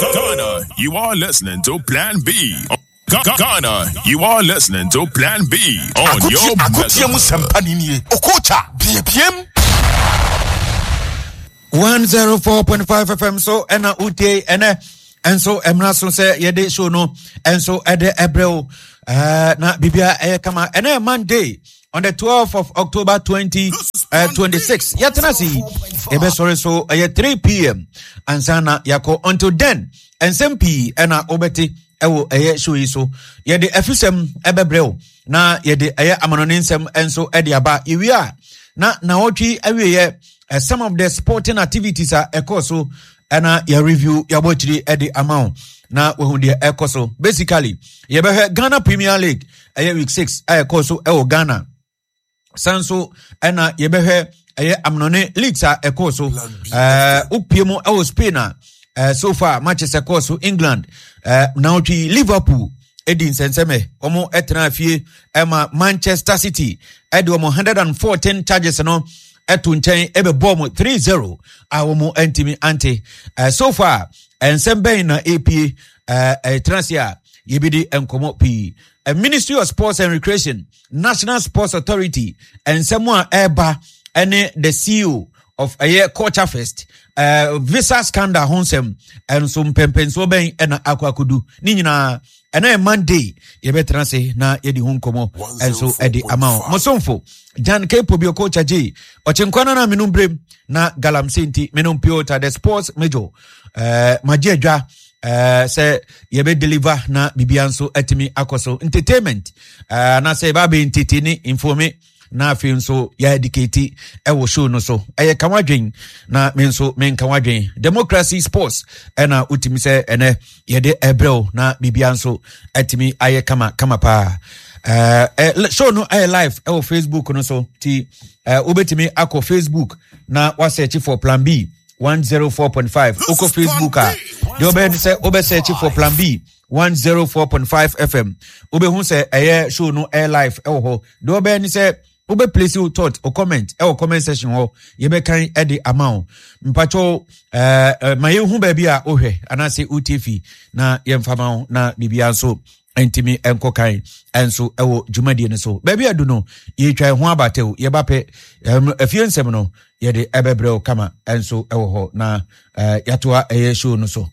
Ghana, you are listening to Plan B. Ghana, you are listening to Plan B on your Akotie mu sɛmpa ni nie. Okocha, biebiem. 104.5 FM so ɛna wotie ɛnɛ ɛnso ɛmmra so sɛ yɛde show no ɛnso ɛde ɛbrɛ wo na biribia ɛyɛ kama. Ɛnɛ Monday on the 12th of October 2026, yɛtena se yi yɛbɛsɔre so ɛyɛ 3 p.m. ansa na yɛakɔ. Until then, ɛnsɛm pii ɛna wobɛte ɛwɔ ɛyɛ show yi so. Yɛde afisɛm ɛbɛbrɛ wo na yɛde ɛyɛ amanɔne nsɛm nso ɛde aba. Yɛwie a, na naɔtwe awieɛ, some of the sporting activities a ɛkɔɔ so ɛna yɛ review, yɛabɔ akyiri ɛde ama wo na wahu deɛ ɛkɔ so. Basically, yɛbɛhwɛ Ghana Premier League, ɛyɛ week 6 a ɛkɔɔ so ɛwɔ Ghana. San so ɛna yɛbɛhwɛ ɛyɛ amanɔne leagues a ɛkɔɔ so. Wopie mu ɛwɔ Spain a, so far matches ɛkɔɔ so England, naɔtwe Liverpool ɛdi nsɛnsɛmɛ, wɔn ɛtena fie ɛma Manchester City ɛde wɔn 114 charges no ɛto nkyɛn ɛbɛbɔ wɔn 3-0 a wɔn ntumi ante. So far, nsɛm bɛn na epie ɛtena se a yɛbɛdi nkɔmɔ pii. Ministry of Sports and Recreation, National Sports Authority, nsɛm a ɛreba ɛne the CEO of ɛyɛ Culture Fest, visa scandal ho nsɛm ɛnso mpɛmpɛnsoɔ bɛn ɛna akɔ akɔdu ne nyinaa. Ɛna yɛ Monday yɛbɛtena ase na yɛde ho nkɔmmɔ ɛnso ɛde ama wo. Mosomfo Jan K Pobio Culture J ɔkyenkwa no na menom brem na galamsey nti menom Piota the sports major, magye adwa sɛ yɛbɛ deliver na biribia nso atumi akɔ so. Entertainment, anaasɛ yɛbɛ abɛ entertain, informe, na afei nso yɛ educate ɛwɔ show no so. Ɛyɛ ka wadwen na me nso menka wadwen. Democracy sports ɛna wotumi sɛ ɛnɛ yɛde ɛbrɛw na biribia nso atumi ayɛ kama kama paa. Show no ɛyɛ live ɛwɔ Facebook no so, ti wobɛtumi akɔ Facebook na wasearch for Plan B 104.5. Wokɔ Facebook a, deɛ wobɛyɛ ne sɛ wobɛsearch for Plan B 104.5 FM, wobɛhu sɛ ɛyɛ show no ɛyɛ live ɛwɔ hɔ. Deɛ wobɛyɛ ne sɛ wobɛ place wo thought o comment ɛwɔ comment section hɔ, yɛbɛkan ɛde ama wo. Mpakyɛw, ma yɛhu baabi a wohwɛ anaasɛ wotie fi na yɛmfa ma wo na biribia nso ntumi nkɔ kan nso ɛwɔ dwumadie no so. Baabi adu no, yɛtwa ɛho abatɛw, yɛba pɛ afie nsɛm no yɛde ɛbɛbrɛ wo kama nso ɛwɔ hɔ na yɛatoa ɛyɛ show no so.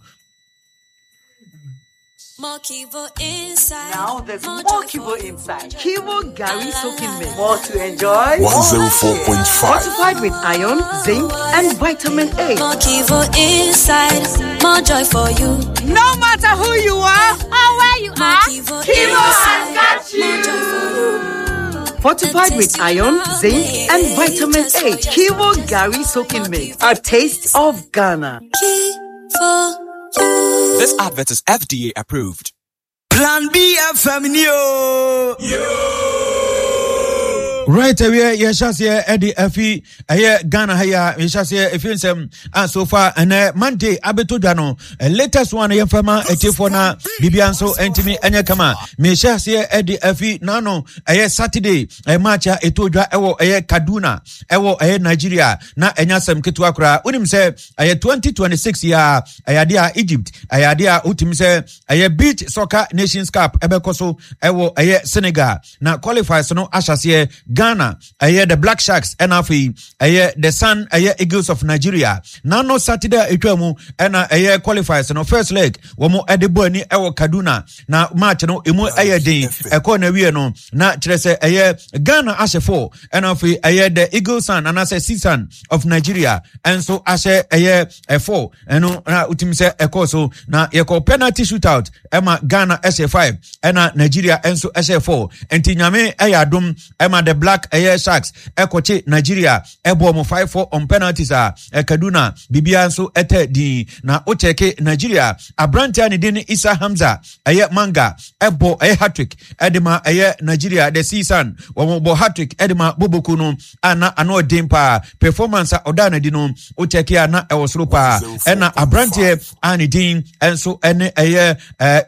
More Kivo inside. Now there's more joy Kivo for you. Inside. Kivo Gary Soaking Mix. More to enjoy. 104.5. Fortified with iron, zinc, and vitamin A. More Kivo inside. More joy for you. No matter who you are or where you More are, Kivo Kivo has inside. got More joy for you. Fortified with iron, zinc, and vitamin A. Kivo Gary Soaking Mix. A taste of Ghana. Kivo you. This advert is FDA approved. Plan B FM ni o. Right, awie yɛhyɛ aseɛ ɛde afi ɛyɛ Ghana ha yi a, yɛhyɛ aseɛ ɛfi nsɛm a so far ɛnɛ Monday abɛtɔ dwa no, latest one yɛmfa ma atiefoɔ na biribia nso ɛntumi ɛnyɛ kama. Mehyɛ aseɛ ɛde afi naano ɛyɛ Saturday, ɛyɛ match a ɛtɔ dwa ɛwɔ ɛyɛ Kaduna ɛwɔ ɛyɛ Nigeria, na ɛnyɛ asɛm ketewa koraa. Wonim sɛ ɛyɛ 2026 yi a, ɛyɛ adeɛ a Egypt, ɛyɛ adeɛ a wotumi sɛ ɛyɛ Beach Soccer Nations Cup ɛbɛkɔ so ɛwɔ ɛyɛ Senegal na qualifiers no ahyɛseɛ. Ghana ɛyɛ the Black Sharks ɛna afei ɛyɛ the Sun ɛyɛ Eagles of Nigeria. Nano Saturday a ɛtwa mu ɛna ɛyɛ qualifiers no first leg wɔn ɛde bɔ ani ɛwɔ Kaduna, na match no emu ɛyɛ den. Ɛkɔɔ na wie no na kyerɛ sɛ ɛyɛ Ghana ahyɛ 4, ɛna afei ɛyɛ the Eagle Sun anaasɛ Sea Sun of Nigeria ɛnso ahyɛ ɛyɛ 4. Ɛno na wotumi sɛ ɛkɔɔ so na yɛkɔ penalty shootout ɛma Ghana ɛhyɛ 5 ɛna Nigeria ɛnso ɛhyɛ 4. Nti Nyame ɛyɛ adom ɛma the Black ɛyɛ Sharks ɛkɔkye Nigeria ɛbɔ ɔmo 5-4 on penalties a Kaduna biribiara nso ɛtɛ din. Na wokyɛke Nigeria aberante a ne din ne Isa Hamza ɛyɛ Manga ɛbɔ ɛyɛ hat-trick ɛde ma ɛyɛ Nigeria, the Season. Wɔn bɔ hat-trick ɛde ma Boboku no a na ano ɔden paa. Performance a ɔdaa n'adi no, wokyɛke a na ɛwɔ soro paa. Ɛna aberanteɛ a ne din nso ɛne ɛyɛ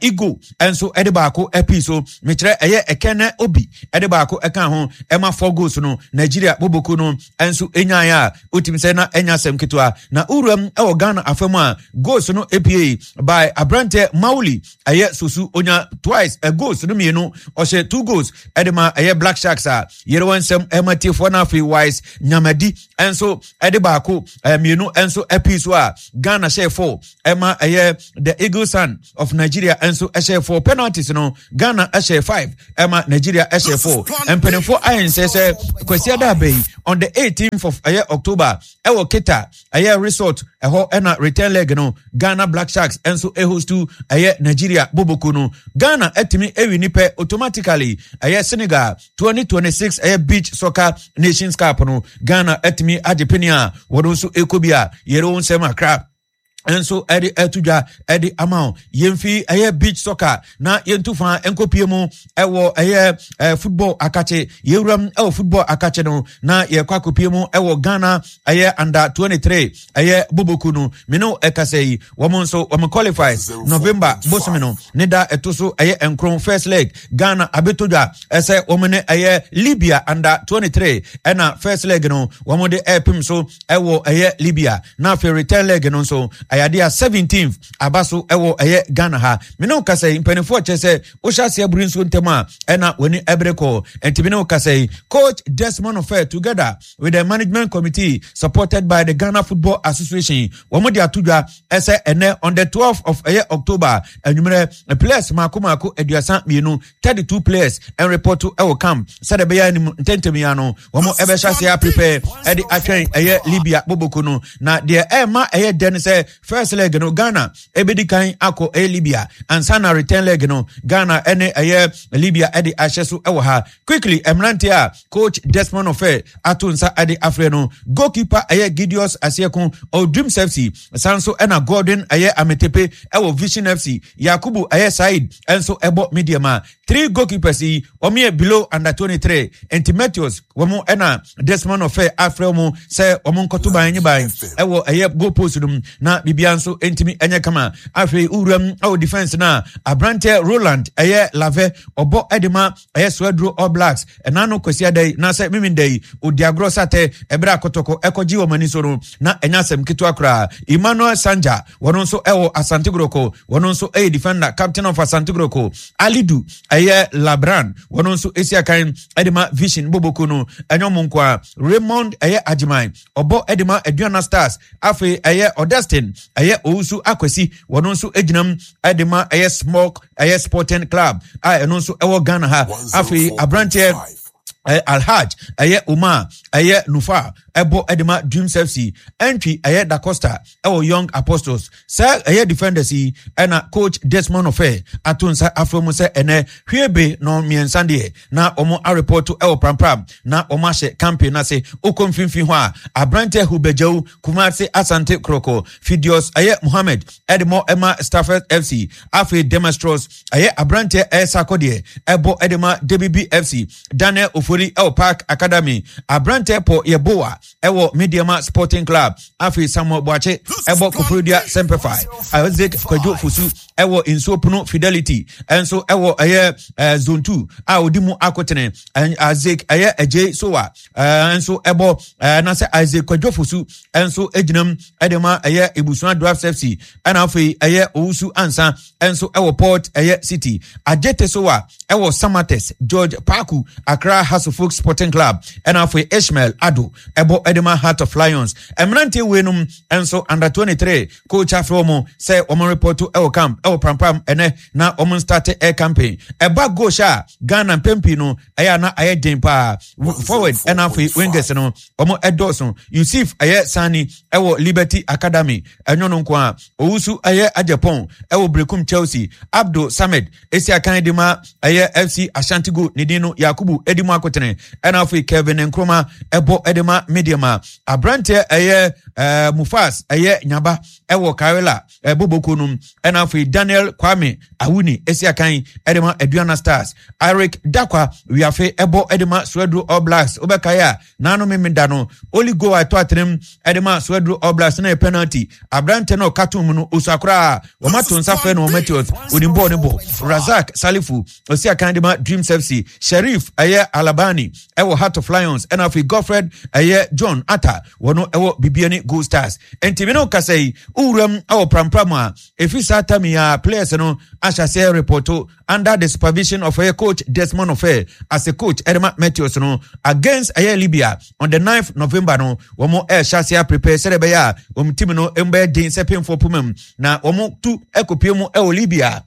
Igo nso ɛde baako ɛpii so, mekyerɛ ɛyɛ Ɛkɛnɛ Obi ɛde baako ɛka ho ɛma. ɛma 4 goals no Nigeria boboko no nso nyaeɛ a wotumi sɛ na ɛnya asɛm ketewa. Na wuram ɛwɔ Ghana afa mu a goals no epie by aberantɛ Mauli ɛyɛ Sosu, onya twice ɛ goals no mmienu, ɔhyɛ 2 goals ɛde ma ɛyɛ Black Sharks a yɛrɛ wɔn nsɛm ɛma tiefoɔ. No afei Wise Nyamadi nso ɛde baako mmienu nso ɛpii so a Ghana hyɛ 4 ɛma ɛyɛ the Eagle Sun of Nigeria nso ɛhyɛ 4. Penalties no, Ghana ɛhyɛ 5 ɛma Nigeria ɛhyɛ 4. Mpanimfoɔ ayɛ nsɛ sɛ Kwasi Adaba yi on the 18th of ɛyɛ October ɛwɔ Keta ɛyɛ resort ɛhɔ ɛna return leg no Ghana Black Sharks nso ɛhostu ɛyɛ Nigeria boboko no. Ghana ɛtumi ɛwi nipa automatically ɛyɛ Senegal 2026 ɛyɛ Beach Soccer Nations Cup no. Ghana ɛtumi agye pene a wɔn nso ɛkɔ bi a yɛrɛ wɔn nsɛm akra nso ɛde ɛto dwa ɛde ama wo. Yɛmfi ɛyɛ beach soccer na yɛntu fa nkɔpie mu ɛwɔ ɛyɛ football akakye. Yɛwuram ɛwɔ football akakye no na yɛkɔ akɔpie mu ɛwɔ Ghana ɛyɛ under 23 ɛyɛ boboku no. Mene ɛkasa yi, wɔn nso wɔn qualifies November bosome no ne da ɛto so ɛyɛ 9. First leg, Ghana abɛtɔ dwa ɛsɛ wɔn ne ɛyɛ Libya under 23 ɛna first leg no wɔn de ɛɛpem so ɛwɔ ɛyɛ Libya. Na afei return leg no nso ɛyade a 17th aba so ɛwɔ ɛyɛ Ghana ha. Mene wo kasa yi, mpanimfoɔ kyerɛ sɛ wohyɛ aseɛ bere nsuo ntɛm a ɛna w'ani ɛbere kɔ. Nti mene wo kasa yi, coach Desmond Ofei together with the management committee supported by the Ghana Football Association, wɔn de ato dwa ɛsɛ ɛnɛ on the 12th of ɛyɛ October anwummerɛ, players mako mako 32, 32 players ɛnrepɔto ɛwɔ camp sɛdeɛ ɛbɛyɛ anim ntɛntɛm yi ano wɔn ɛbɛhyɛ aseɛ aprepare ɛde atwɛn ɛyɛ Libya boboko no. Na deɛ ɛma ɛyɛ dɛ no sɛ first leg no Ghana ɛbɛdi kan akɔ ɛyɛ Libya ansa na return leg no Ghana ɛne ɛyɛ Libya ɛde ahyɛ so ɛwɔ ha. Quickly, mmeranteɛ a coach Desmond Ofei ato nsa ɛde afrɛ no, goalkeeper ɛyɛ Gideos Asieko ɔwɔ Dreams FC, san so ɛna Gordon ɛyɛ Ametepe ɛwɔ Vision FC, Yakubu ɛyɛ Said ɛnso ɛbɔ Medeama. Three goalkeepers yi wɔn yɛ below under 23, nti Matthews wɔn ɛna Desmond Ofei afrɛ wɔn sɛ wɔn nkɔto ban nye ban ɛwɔ ɛyɛ goal post no mu na biribiara nso ntumi ɛnyɛ kama. Afei wuram ɛwɔ defence no a, aberanteɛ Roland ɛyɛ Lave ɔbɔ ɛde ma ɛyɛ Swedru All Blacks. Ɛna no Kwasi ada yi na sɛ mimi da yi odi agorɔ satɛ ɛberɛ akɔtɔkɔ ɛkɔgye wɔn ani so no na ɛnyɛ asɛm ketewa koraa. Emmanuel Sanja, wɔn nso ɛwɔ Asante Goroko, wɔn nso ɛyɛ defender, captain of Asante Goroko. Alidu ɛyɛ Labran, wɔn nso esi akan ɛde ma Vision Boboko no. Ɛnyɛ ɔmo nko a, Raymond ɛyɛ Agyeman ɔbɔ ɛde ma Aduana Stars. Afei ɛyɛ Augustine ɛyɛ Owusu Akwasi, wɔn nso gyinam ɛde ma ɛyɛ Smoke ɛyɛ Sporting Club a ɛno nso ɛwɔ Ghana ha. Afei aberanteɛ Alhaj ɛyɛ Umar ɛyɛ Nufa ɛbɔ ɛde ma Dreams FC. Ɛntwi ɛyɛ Da Costa ɛwɔ Young Apostles. Sɛ ɛyɛ defenders yi ɛna coach Desmond Ofei ato nsa afrɛ mu sɛ ɛnɛ hwiebe no mmiɛnsa deɛ na wɔn arepɔto ɛwɔ prampram na wɔn ahyɛ campaign n'ase. Okɔ mfimfini hɔ a, aberanteɛ Hubɛgyaw Kumase Asante Koroko, Fidios ɛyɛ Mohammed ɛde mɔ ɛma Stafford FC. Afei Demastros ɛyɛ aberanteɛ ɛyɛ Sako deɛ ɛbɔ ɛde ma DBB FC. Daniel Ofori ɛwɔ Park Academy. Aberanteɛ Pɔ Yɛboa ɛwɔ Medeama Sporting Club. Afei Samuel Boakye ɛbɔ Koforidua Semperfi. Isaac Kwadwo Fosu ɛwɔ Nsuo Pono Fidelity ɛnso ɛwɔ ɛyɛ Zone 2 a odi mu akotene. Isaac ɛyɛ Agye Sowa nso ɛbɔ na sɛ Isaac Kwadwo Fosu nso gyinam ɛde ma ɛyɛ Ebusua Dwarfs FC. Ɛna afei ɛyɛ Owusu Ansa nso ɛwɔ Port ɛyɛ City. Agyete Sowa ɛwɔ Samatex. George Paku, Accra Hasofok Sporting Club. Ɛna afei Ishmael Ado ɛbɔ ɛde ma Heart of Lions. Mmeranteɛ weinom nso under 23, coach afei wɔn sɛ wɔn report ɛwɔ camp ɛwɔ prampram ɛnɛ na wɔn start air campaign. Ɛba goal hyɛ a, Ghana mpɛn pii no ɛyɛ ana ayɛ den paa forward ɛna afei wingers no wɔn ɛdɔɔso. Yusuf ɛyɛ Sani ɛwɔ Liberty Academy. Ɛnyɛ no nko a, Owusu ɛyɛ Agyapong ɛwɔ Brekum Chelsea. Abdul Samed esi akan de ma ɛyɛ FC Ashanti Gold, ne din no Yakubu edi mu akotene. Ɛna afei Kevin Nkrumah ɛbɔ ɛde ma Medeama. Aberanteɛ ɛyɛ Mufas ɛyɛ Nyaba. ɛwɔ Karela ɛboboko no ɛna afei Daniel Kwame Awuni esi akan ɛde ma Aduana Stars. Eric Dakwa Wiafe ɛbɔ ɛde ma Swedru All Blacks. Wobɛkae a naano memeda no only goal a ɛtɔ atenem ɛde ma Swedru All Blacks na yɛ penalty. Aberante no ɔka tom no osua koraa wɔn ato nsa frɛ no wɔn Matios onim bɔɔl ne bɔ. Razak Salifu osi akan de ma Dreams FC. Sherif ɛyɛ Alabani ɛwɔ Heart of Lions ɛna afei Godfred ɛyɛ John Atta wɔn ɛwɔ Bibiani Gold Stars. Nti me ne wo kasa yi wowuram ɛwɔ prampram a ɛfiri saa tam yi a players no ahyɛ aseɛ report under the supervision of ɛyɛ coach Desmond Ofei as a coach ɛde ma Meteors no against ɛyɛ Libya on the 9th November no wɔn ɛhyɛ aseɛ prepare sɛdeɛ ɛbɛyɛ a wɔn team no mbɛyɛ den sɛ pemfoɔ poma mu na wɔn tu ɛkɔpie mu ɛwɔ Libya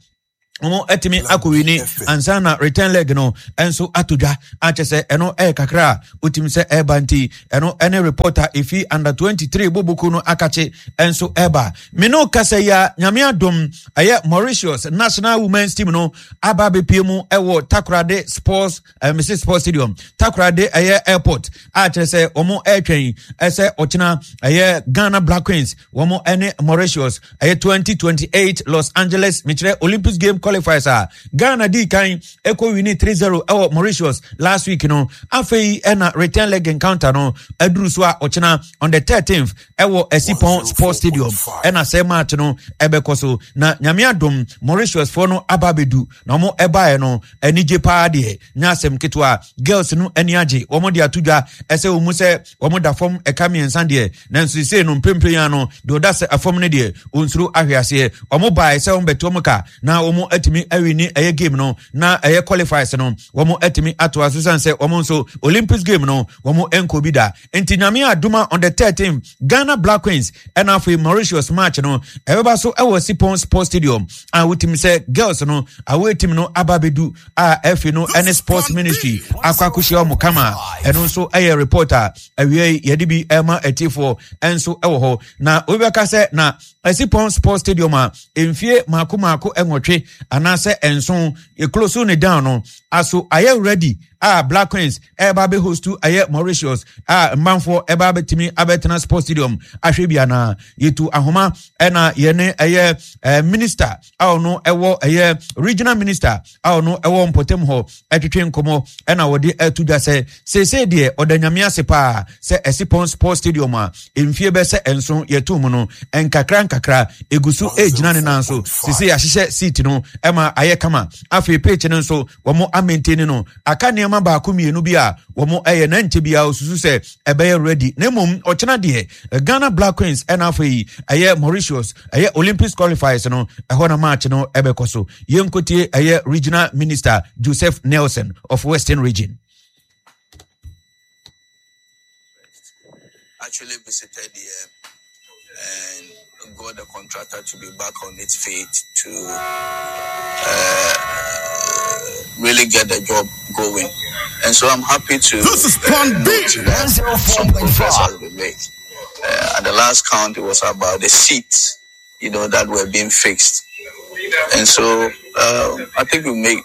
wɔn atumi akɔwini ansa na return leg no nso ato dwa akyɛ sɛ ɛno ɛyɛ kakra a wotumi sɛ ɛreba nti ɛno ɛne report a ɛfi under 23 boboku no akakye nso ɛreba me no kasa yi a nyame adom ɛyɛ Mauritius national women's team no aba abɛpie mu ɛwɔ Takoradi sports mese sports stadium Takoradi ɛyɛ airport a kyerɛ sɛ wɔn ɛretwɛn ɛsɛ ɔkyena ɛyɛ Ghana Black Queens wɔn ɛne Mauritius ɛyɛ 2028 Los Angeles mekyerɛ Olympics game qualifiers a Ghana di kan ɛkɔ wini 3-0 ɛwɔ Mauritius last week no afei ɛna return leg encounter no aduru so a ɔkyena on the 13th ɛwɔ Esipon Sports Stadium ɛna sɛ match no ɛbɛkɔ so na nyame adom Mauritius foɔ no aba abɛdu na wɔn ɛbaeɛ no anigye paa deɛ nyɛ asɛm ketewa girls no ani agye wɔn de ato dwa ɛsɛ wɔn mu sɛ wɔn da fam ɛka mmiɛnsa deɛ nanso sesei no mprempren ya no deɛ ɔda sɛ fam no deɛ ɔnsuro ahwe aseɛ wɔn baeɛ sɛ wɔn bɛto wɔn ka na wɔn atumi awini ɛyɛ game no na ɛyɛ qualifiers no wɔn atumi atoa so san sɛ wɔn nso Olympics game no wɔn nkɔ bi da nti nyame adoma on the 13 Ghana Black Queens ɛna afei Mauritius match no ɛbɛba so ɛwɔ Sipon Sports Stadium a wotumi sɛ girls no away team no aba abɛdu a ɛfi no ɛne Sports Ministry akɔ akɔhyia wɔn kama ɛno nso ɛyɛ report a awia yi yɛde bi ɛma atiefoɔ ɛnso ɛwɔ hɔ na obi bɛka sɛ na Sipon Sports Stadium a mfie mako mako ɛnwɔtwe anaasɛ ɛnson yɛkloso ne down no aso ayɛ ready a Black Queens ɛreba abɛ host ɛyɛ Mauritius a mmanfoɔ ɛba abɛtumi abɛtena sports stadium ahwɛ bi anaa yɛtu ahoma ɛna yɛne ɛyɛ ɛɛ minister a ɔno ɛwɔ ɛyɛ regional minister a ɔno ɛwɔ mpɔtam hɔ ɛtwetwe nkɔmɔ ɛna wɔde ɛto dwa sɛ seesei deɛ ɔda nyame ase paa sɛ Ɛsipɔn sports stadium a mfie bɛ sɛ nson yɛto mu no nkakra nkakra egu so ɛgyina ne nan so seesei yɛahyehyɛ seat no ɛma ayɛ kama afei pitch no nso wɔn amɛnteni no aka nneɛma baako mmienu bi a wɔn ɛyɛ na nkyɛ biara osusu sɛ ɛbɛyɛ ready na mmom ɔkyena deɛ Ghana Black Queens ɛna afei ɛyɛ Mauritius ɛyɛ Olympics qualifiers no ɛhɔ na match no ɛbɛkɔ so yɛnkotie ɛyɛ regional minister Joseph Nelson of Western Region. Actually visited here and got the contractor to be back on its feet to really get the job going. And so I'm happy to This is Plan B. note that some progress has been made. At the last count, it was about the seats, you know, that were being fixed. And so I think we made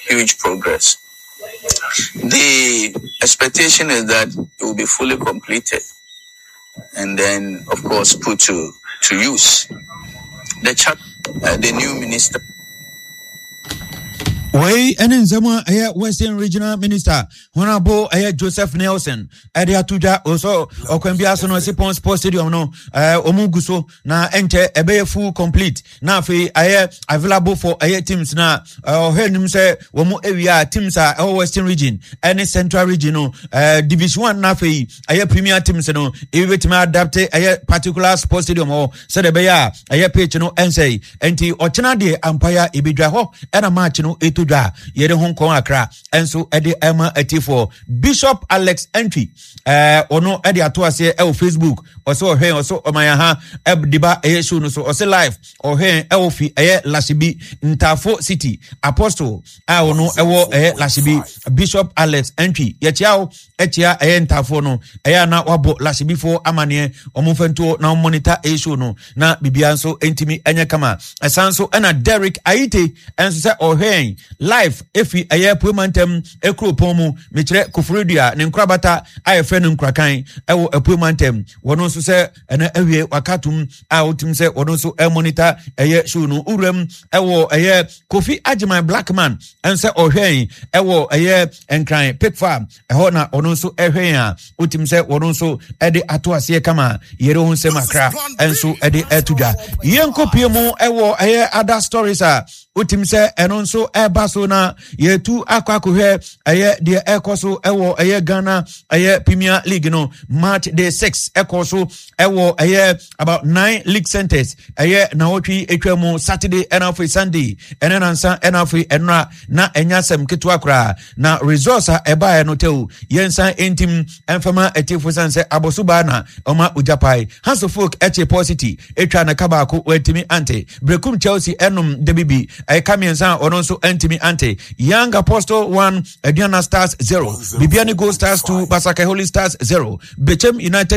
huge progress. The expectation is that it will be fully completed and then, of course, put to, to use. The, chat, the new minister. Wei ɛne nsɛm a ɛyɛ Western Regional Minister Honorable ɛyɛ Joseph Nelson ɛde ato dwa ɔsɔ ɔkwan bi aso no Sipon Sports Stadium no ɛɛ wɔn gu so na ɛnkyɛ ɛbɛyɛ full complete na afei ayɛ available for ɛyɛ teams na ɔhwɛ anim sɛ wɔn awia teams a ɛwɔ Western Region ɛne Central Region no ɛɛ Division One na afei ɛyɛ premier teams no ebi betumi adapte ɛyɛ particular sports stadium hɔ sɛdeɛ ɛbɛyɛ a ɛyɛ pitch no ɛnsɛe nti ɔkyena deɛ ampaya ebedwa hɔ ɛna match no eto dwa yɛde ho nkɔn akra ɛnso ɛde ɛma atiefoɔ Bishop Alex Entry ɛɛ ɔno ɛde ato aseɛ ɛwɔ Facebook ɔsɛ ɔhwɛn ɔsɛ ɔman ha ɛde ba ɛyɛ show no so ɔsɛ live ɔhwɛn ɛwɔ fi ɛyɛ Lashibi Ntafo City Apostle a ɔno ɛwɔ ɛyɛ Lashibi Bishop Alex Entry yɛkyia o ɛkyia ɛyɛ Ntafo no ɛyɛ ana wabɔ Lashibifoɔ amaneɛ wɔn mfɛntoɔ na wɔn monitor ɛyɛ show no na biribiara nso ntumi ɛnyɛ kama ɛsan so ɛna Derek Aite ɛnso sɛ ɔhwɛn. Live efi ɛyɛ Apuemantam kuropɔn mu, mekyerɛ Koforidua ne nkorabata a yɛfrɛ no Nkurakan ɛwɔ Apuemantam. Wɔn nso sɛ ɛna awie waka atom a wotim sɛ wɔn nso ɛmonita ɛyɛ show no. Wuram ɛwɔ ɛyɛ Kofi Agyeman Blackman ɛnsɛ ɔhwɛn ɛwɔ ɛyɛ Nkran Pig Farm ɛhɔ na ɔno nso ɛhwɛn a wotim sɛ wɔn nso ɛde ato aseɛ kama yɛre ho nsɛm akra ɛnso ɛde ɛto dwa. Yɛnkɔ mu ɛwɔ ɛyɛ other stories a wotim sɛ ɛno nso ɛba so na yɛtu akɔ akɔhwɛ ɛyɛ deɛ ɛkɔ so ɛwɔ ɛyɛ Ghana ɛyɛ Premier League no. Match day 6 ɛkɔ so ɛwɔ ɛyɛ about 9 league centers ɛyɛ nawɔtwe atwa mu Saturday ɛna afei Sunday ɛne nansa ɛna afei ɛnora na ɛnya asɛm ketewa koraa na results a ɛbaeɛ no tɛw yɛnsan ntim ɛmfama atiefo san sɛ abɔso baa na ɔma ogya pae. Hanso Folk ɛkye Paul City atwa ne ka baako wɔantumi ante. Brekum Chelsea ɛnom dabi bi ɛka mmiɛnsa a ɔno nso antumi ante. Young Apostle 1 Aduana Stars 0, Bibiani Gold Stars 2 Basake Holy Stars 0, Bechem United